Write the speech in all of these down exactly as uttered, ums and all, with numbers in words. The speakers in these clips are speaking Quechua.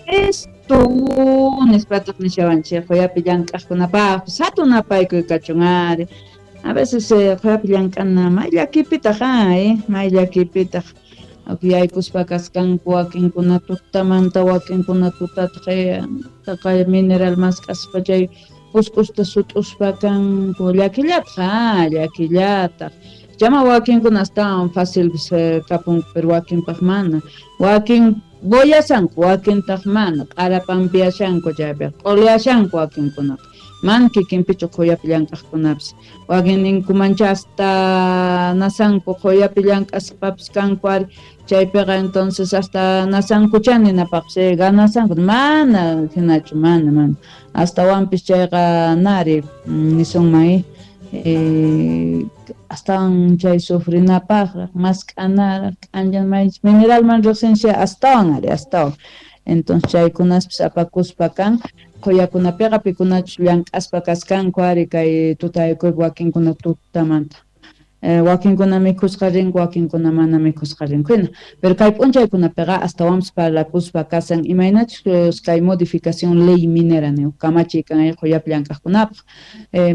Esto nispataq nishawanchik quyapi llank'aqkunapaqpis hatun napaykuy kachun ari. A veces quyapi llank'ana may llakipitaq ay may llakipitaq yaykuspa kaskanku wakinkuna tutamanta wakinkuna tutataq taqay mineral mask'aspa chay pusk'usta sut'uspa kanku llakillataq ah llakillataq chama wakinkuna astawan fácil kapunku pero wakinpaq mana wakin boyasanku wakintaq mana q'ara pampiyashanku chaypiqa q'ulyashanku wakinkunaqa mana kikinpichu quyapi llank'aqkunapis wakin ninkumancha hasta nasanku quyapi llank'aspapis kanku ari chaypiqa entonces hasta nasankucha ninapaqpis ganasanku mana hinachu mana mana astawanpis chayqa nari nisunman eh, astawan chay sufrinapaqraq mask'anaraq k'anchan mineralman riqsinchik astawan ari astawan entonces chaykunaspis apakuspa kan quyakunapiqa pikunachus llank'aspa kaskanku ari kay tutayakuypi wakinkuna tutamanta wakinkuna mikhusqa rinku wakinkuna mana mikhusqa rinku hina pero kay p'unchaykunapiqa astawanpis parlakuspa kasan imaynachus kay modificación ley minera niq kamachiy kan quyapi llank'aqkunapaq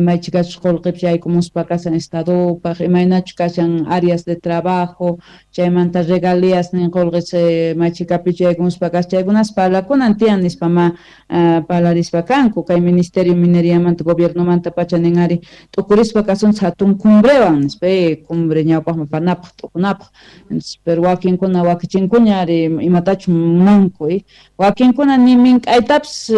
maychikachus qullqipis yaykumuspa kasan estadopaq imaynachus kashan áreas de trabajo chaymanta regalías nin qullqis maychikapichu yaykumuspa kashan chaykunas parlakunan tiyan nispa ma parlarispa kanku kay ministerio mineriamanta gobiernomanta pacha nin ari t'ukurispa kasunchik hatun cumbrewan nispa cumbre ñawpaqman panapaq t'ukunapaq pero wakinkuna wakichinkuña ari imatachus munanku wakinkuna ni mink'aytapis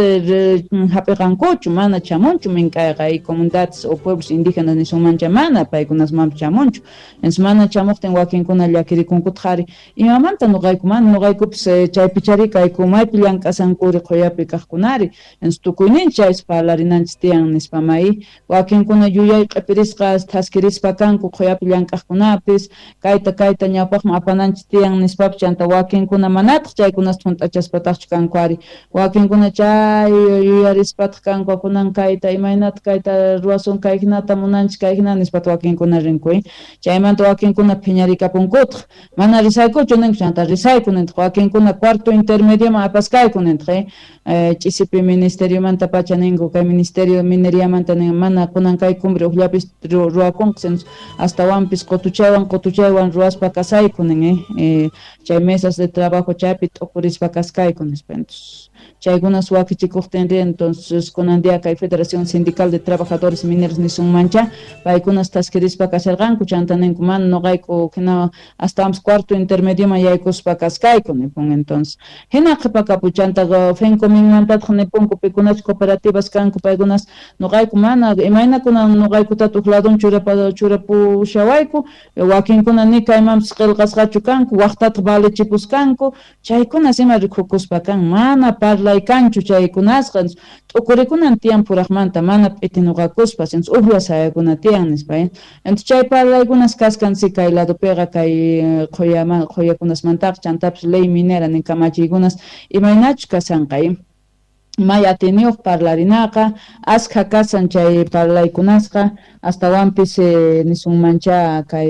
hap'iqankuchu mana chamunchu mink'ayqa comunidades o pueblos indígenas nisunmancha mana paykunasmanpis chamunchu entonces mana chamuqtin wakinkuna llakirikunkutaq ari imamanta nuqayku mana nuqaykupis chaypichari kayku maypi llank'asankuri quyapi kaqkunari entonces tukuyninchik chaypis parlarinanchik tiyan nispa may wakinkuna yuyay q'ipirisqa thaskirispa kanku quyapi llank'aqkunapis kayta kayta ñawpaqman apananchik tiyan nispapis chanta wakinkuna manataq chaykunasta hunt'achaspataqchu kanku ari wakinkuna chay yuyarispataq kanku kunan kayta imaynata kayta ruwasun kay hinata munanchik kay hina nispataq wakinkuna rinku chaymanta wakinkuna phiñarikapunkutaq mana risaykuchu ninku chanta risayku nintaq wakinkuna cuarto intermedioman apaskayku nintaq ch'isipi ministeriomanta pacha ninku kay ministerio mineriamanta nin mana kunan kay cumbre ukllapis ruwakunqa astawanpis qutuchaywan qutuchaywan ruwaspa kasayku nin chay mesas de trabajo chaypi t'ukurispa kaskayku nispa entonces chaykunas wakichikuqtin entonces kunan día kay Federación Sindical de Trabajadores Mineros nisunmancha paykunas thaskirispa kasharqanku chanta ninku mana nuqayku hina astawanpis cuarto intermedioman yaykuspa kaskayku nipun entonces hina qhipakapu chanta FENCOMINmantataq nipunku pikunachus cooperativas kanku paykunas nuqayku mana imayna kunan nuqaykutata huk ladun churapushawayku wakinkuna ni kaymanpis qillqasqachu kanku waqtataq valichipuskanku chaykunas ima rikukuspa kan mana parlay kanchu chaykunasqa t'ukurikunan tiyan puraqmanta mana p'itinuqakuspa ujlla sayakuna tiyan nispa entonces chay parlaykunas kaskan si kay ladopiqa kay qhuyaman qhuyakunasmantaqa chantapis ley minera nin kamachiykunas imaynachus kashanqa may atiniyuq parlarinaqa askha kasan chay parlaykunasqa astawanpis nisunmancha kay